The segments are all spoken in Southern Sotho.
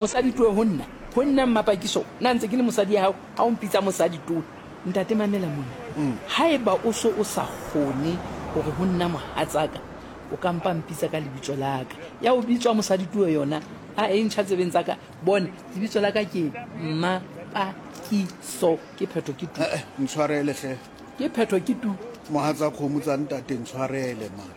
Mosadi towe ho nna, ho nna Mmapakiso, na ntse ke le mosadi ya hao ha o mpitsa mosadi towe? Ntate mamela mona, haeba o so o sa kgone hore ho nna mohatsaka, o ka mpa mpitsa ka lebitso la ka. Ya ho bitswa mosadi towe yona a e ntjha tsebeng tsa ka. Bone, lebitso la ka ke Mmapakiso, ke phetho ke tu. Eh, ntshwarele hle. Ke phetho ke tu. Mohatsa kgomo tsa ntate ntshwarele man.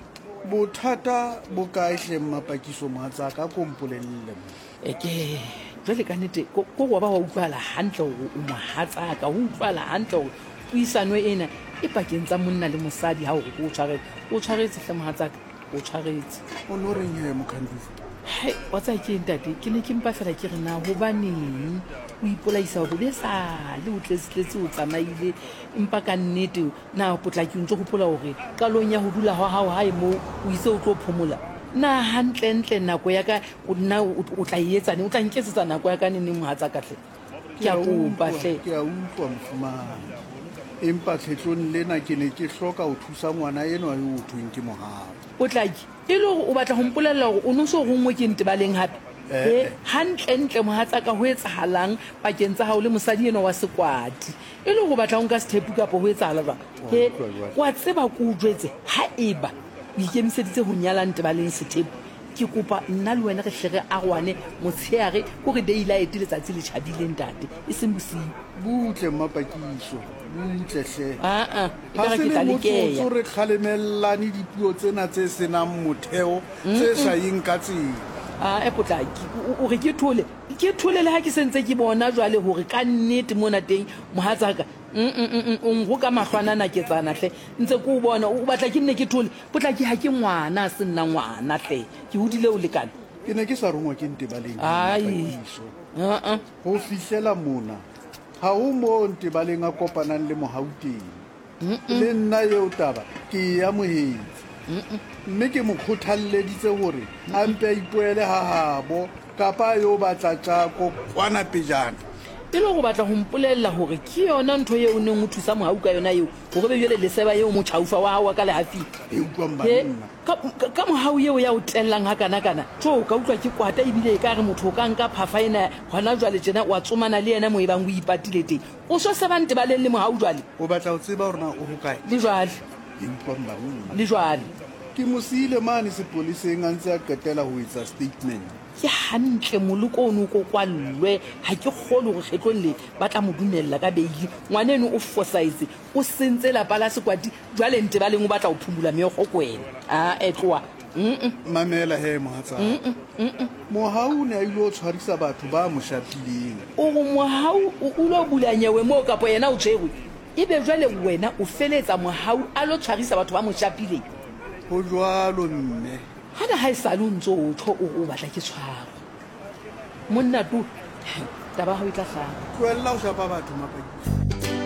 Bothata bo kae hle Mmapakiso mohatsaka, a ko mpolelle man. E ke jwale ka nnete ko ko wa ba wa utlwahala hantle hore o mohatsaka, ho utlwahala hantle hore puisano ena e pakeng tsa monna le mosadi ha o re ke o tshwarele, o tshwaretse hle mohatsaka, o tshwaretse. O no reng he Mokhandufa? Hai, wa tseba ke eng ntate, ke ne ke mpa fela ke re na hobaneng o ipolaisa hore be sale o tletse-tletse o tsamaile, empa ka nnete Na Potlaki o ntse o hopola hore qalong ya ho dula hwa hao hae moo o itse o tlo phomola? Na hantlentle nako ya ka nna o tla e etsa neng? O tla nketsetsa nako ya ka neneng mohatsaka hle? Ke a kopa hle. Ke a utlwa mofumahadi, empa kgetlong lena ke ne ke hloka ho thusa ngwana enwa eo ho thweng ke Mohau. Potlaki, E le hore o batla ho mpolella hore o ne o so ronngwe ke Ntebaleng hape? He, hantlentle mohatsaka ho etsahalang pakeng tsa hao le mosadi enwa wa sekwati? E le gore o batla go nka sethepu kapo go etsagala jwang? He, wa tseba ko o jwetse, ha eba o ikemiseditse go nyala Ntebaleng sethepu, ke kopa nna le wena re hle re aroane motsheare, ko re daylight letsatsi le tjhabile ntate, e seng bosiu. Butle Mmapakiso, butle hle. Aa, Ha ekare se ke le tla lekeya. motsotso re kgalemellane dipuo tsena tse se nang motheo, tse sa yeng ka tsela. Aa, Potlaki, o re ke thole? Ke thole le ha ke se ntse ke bona jwale hore ka nnete mona teng mohatsaka, mm-mm-mm, o nroka mahlwana naketsana hle. Ntse ke o bona, o batla ke nne ke thole? Potlaki, ha ke ngwana, ha se nna ngwana hle. Ke hodile ho lekana. Ke ne ke sa rongwa ke Ntebaleng Ai, Mapakiso. uh-uh. Ho fihlela mona, ha ho moo Ntebaleng a kopanang le Mohau teng. Le nna eo taba ke e amohetse, mme ke mo kgothalleditse hore a mpe a ipoele ha habo kapa a yo batla tjako kwana pejana. E le hore o batla ho mpolella hore ke yona ntho eo o neng o thusa Mohau ka yona eo, hore be jwale leseba eo motjhaufa wa hao wa ka lehafing? E utlwang He, banna. ka, ka, ka Mohau eo ya o tellang hakanakana? Tjo, ka utlwa ke kwata ebile ekare motho o ka nka phafa ena hona jwale tjena wa tsomana le yena moo ebang o ipatile teng. O so seba Ntebaleng le Mohau jwale? O batla ho tseba hore na o hokae? Le jwale. Ke utlwang banna. Le jwale. Ke mo siile mane sepoleseng a ntse a qetela ho etsa statement. Ke hantle moloko ono o ko kwallwe. Ha ke kgolwe hore kgetlong le ba tla mo dumella ka beili. Ngwaneno o fosahetse. O sentse lapa la Sekwati. Jwale Ntebaleng o batla ho phumula meokgo ko wena. Ae tloha. Mm-mm. Mamela he mohatsaka. Mm-mm. Mm-mm. Mohau o ne a ilo tshwarisa batho ba mo shapileng. O re Mohau o o lo bula nyewe moo kapo yena o tshwerwe? Ebe jwale wena o feletsa Mohau a lo tshwarisa batho ba mo shapileng? Ho jwalo mme. Hana ha esale o ntso o tjho o re o batla ke tshwarwe. Monna to, taba ya hao e tla hlaka. Tlohella ho shapa batho Mapakiso.